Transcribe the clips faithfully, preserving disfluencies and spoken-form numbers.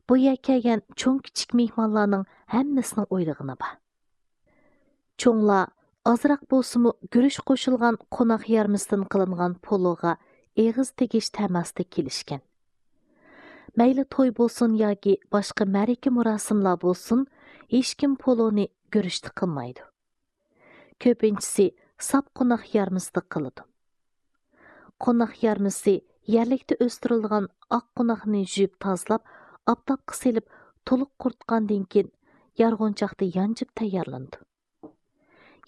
بۇ يەرگە كەلگەن چوڭ-كىچىك مېھمانلارنىڭ ھەممىسىنىڭ ئويلىغىنى بار. چوڭلار ئازراق بولسىمۇ گۈرۈچ قوشۇلغان قوناق يارمىسىدىن قىلىنغان پولوغا ئېغىز تېگىش تەماسىدا كېلىشكەن. مەيلى توي بولسۇن ياكى باشقا مەرىكە مۇراسىملار بولسۇن، ھېچكىم پولونى گۈرۈچتە قىلمايدۇ. كۆپىنچىسى ساپ قوناق يارمىسىدا قىلىدۇ. قوناق يارمىسى يەرلىكتە ئۆستۈرۈلگەن ئاق قوناقنى يۇيۇپ تازىلاپ، ئاپتاپقا سېلىپ، تولۇق قۇرۇتقاندىن كېيىن، يارغۇنچاقتا يانجىپ تەييارلىنىدۇ.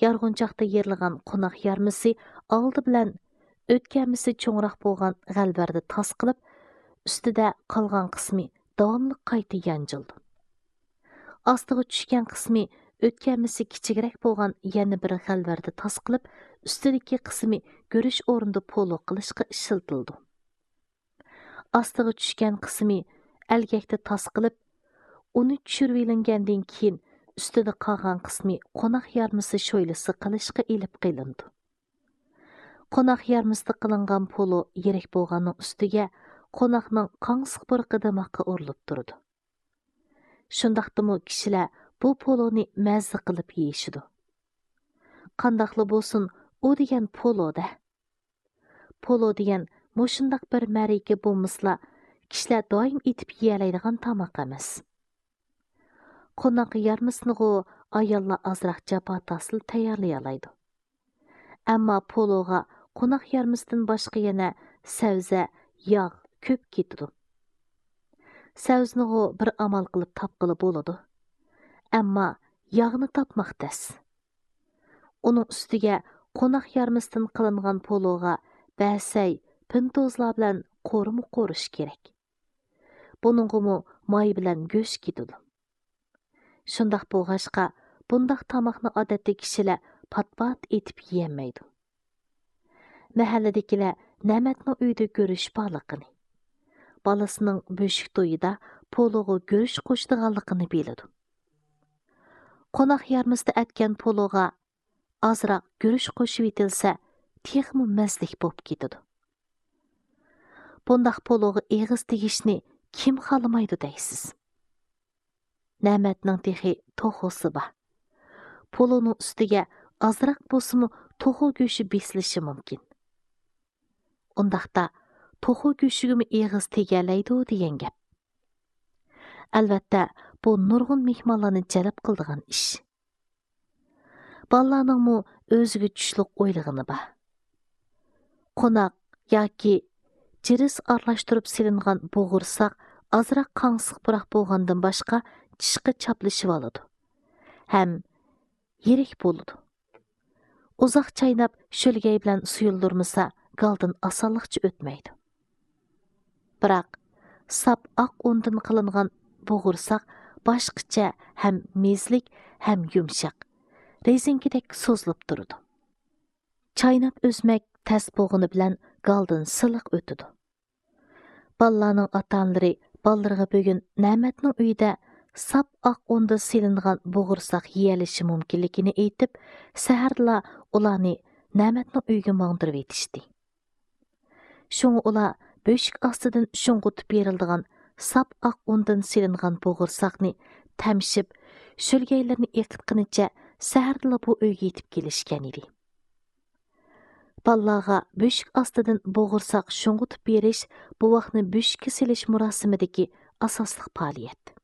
يارغۇنچاقتا يېرىلغان قوناق يارمىسى ئالدى بىلەن ئۆتكەمىسى چوڭراق بولغان غەلۋەردە تاس قىلىپ، ئۈستىدە قالغان قىسمى داۋاملىق قايتا يانجىلىدۇ. ئاستىغا چۈشكەن قىسمى ئۆتكەمىسى كىچىكرەك بولغان يەنە بىر غەلۋەردە تاس قىلىپ، ئۈستىدىكى قىسمى گۈرۈچ ئورنىدا پولو قىلىشقا ئىشلىتىلىدۇ. ئاستىغا چۈشكەن قىسمى ئەلگەكتە تاس قىلىپ، ئۇنى چۈشۈرۈۋېلىنگەندىن كېيىن، ئۈستىدە قالغان قىسمى قوناق يارمىسى شويلىسى قىلىشقا ئېلىپ قېلىنىدۇ. قوناق يارمىسىدا قىلىنغان پولو يىرىك بولغاننىڭ ئۈستىگە قوناقنىڭ قاڭسىق پۇرىقى دىماققا ئۇرۇلۇپ تۇرىدۇ. شۇنداقتىمۇ كىشىلەر بۇ پولونى مەززە قىلىپ يېيىشىدۇ. قانداقلا بولسۇن، ئۇ دېگەن پولو-دە. پولو دېگەن مۇشۇنداق بىر مەرىكە بولمىسىلا، كىشىلەر دائىم ئېتىپ يېيەلەيدىغان تاماق ئەمەس. قوناق يارمىسىنىغۇ ئاياللار ئازراق جاپا تارتسىلا تەييارلىيالايدۇ. ئەمما پولوغا قوناق يارمىسىدىن باشقا يەنە سەۋزە، ياغ كۆپ كېتىدۇ. سەۋزىنىغۇ بىر ئامال قىلىپ تاپقىلى بولىدۇ. ئەمما ياغنى تاپماق تەس. ئۇنىڭ ئۈستىگە قوناق يارمىسىدىن قىلىنغان پولوغا بەسەي، پىنتوزلار بىلەن قورۇما قورۇش كېرەك. بۇنىڭغىمۇ ماي بىلەن گۆش كېتىدۇ. شۇنداق بولغاچقا، بۇنداق تاماقنى ئادەتتە كىشىلەر پات-پات ئېتىپ يېيەلمەيدۇ. مەھەللىدىكىلەر نەمەتنىڭ ئۆيىدە گۈرۈچ بارلىقىنى، بالىسىنىڭ بۆشۈك تويىدا پولوغا گۈرۈچ قوشىدىغانلىقىنى بىلىدۇ. قوناق يارمىسىدا ئەتكەن پولوغا ئازراق گۈرۈچ قوشۇۋېتىلسە، تېخىمۇ مەززىلىك بولۇپ كېتىدۇ. بۇنداق پولوغا ئېغىز تېگىشنى كىم خالىمايدۇ دەيسىز؟ نەمەتنىڭ تېخى توخۇسى بار. پولونىڭ ئۈستىگە ئازراق بولسىمۇ توخۇ گۆشى بېسىلىشى مۇمكىن. ئۇنداقتا توخۇ گۆشىگىمۇ ئېغىز تېگەلەيدۇ دېگەن گەپ. ئەلۋەتتە، بۇ نۇرغۇن مېھمانلارنى جەلپ قىلىدىغان ئىش. بالىلارنىڭمۇ ئۆزىگە چۈشلۈك ئويلىغىنى بار. قوناق ياكى جىرىس ئارىلاشتۇرۇپ سېلىنغان بوغۇرساق ئازراق قاڭسىق پۇراق بولغاندىن باشقا چىشقا چاپلىشىۋالىدۇ ھەم يىرىك بولىدۇ. ئۇزاق چايناپ، شۆلگەي بىلەن سۇيۇلدۇرمىسا، گالدىن ئاسانلىقچە ئۆتمەيدۇ. بىراق، ساپ ئاق ئۇندىن قىلىنغان بوغۇرساق باشقىچە، ھەم مېزىلىك، ھەم يۇمشاق، رېزىنكىدەك سوزۇلۇپ تۇرىدۇ. چايناپ ئۈزمەك تەس بولغىنى بىلەن گالدىن سىلىق ئۆتىدۇ. بالىلارنىڭ ئاتا-ئانىلىرى بالىلىرىغا بۈگۈن نەمەتنىڭ ئۆيىدە ساپ ئاق ئۇندىن سېلىنغان بوغۇرساق يېيەلىشى مۇمكىنلىكىنى ئېيتىپ، سەھەردىلا ئۇلارنى نەمەتنىڭ ئۆيىگە ماڭدۇرۇۋېتىشتى. شۇڭا ئۇلار بۆشۈك ئاستىدىن شۇڭغۇتۇپ بېرىلىدىغان ساپ ئاق ئۇندىن سېلىنغان بوغۇرساقنى تەمشەپ، شۆلگەيلىرىنى ئېقىتقىنىچە سەھەردىلا بۇ ئۆيگە يېتىپ كېلىشكەن ئىدى. بالىلارغا بۆشۈك ئاستىدىن بوغۇرساق شۇڭغۇتۇپ بېرىش بوۋاقنى بۆشۈككە سېلىش مۇراسىمىدىكى ئاساسلىق پائالىيەت.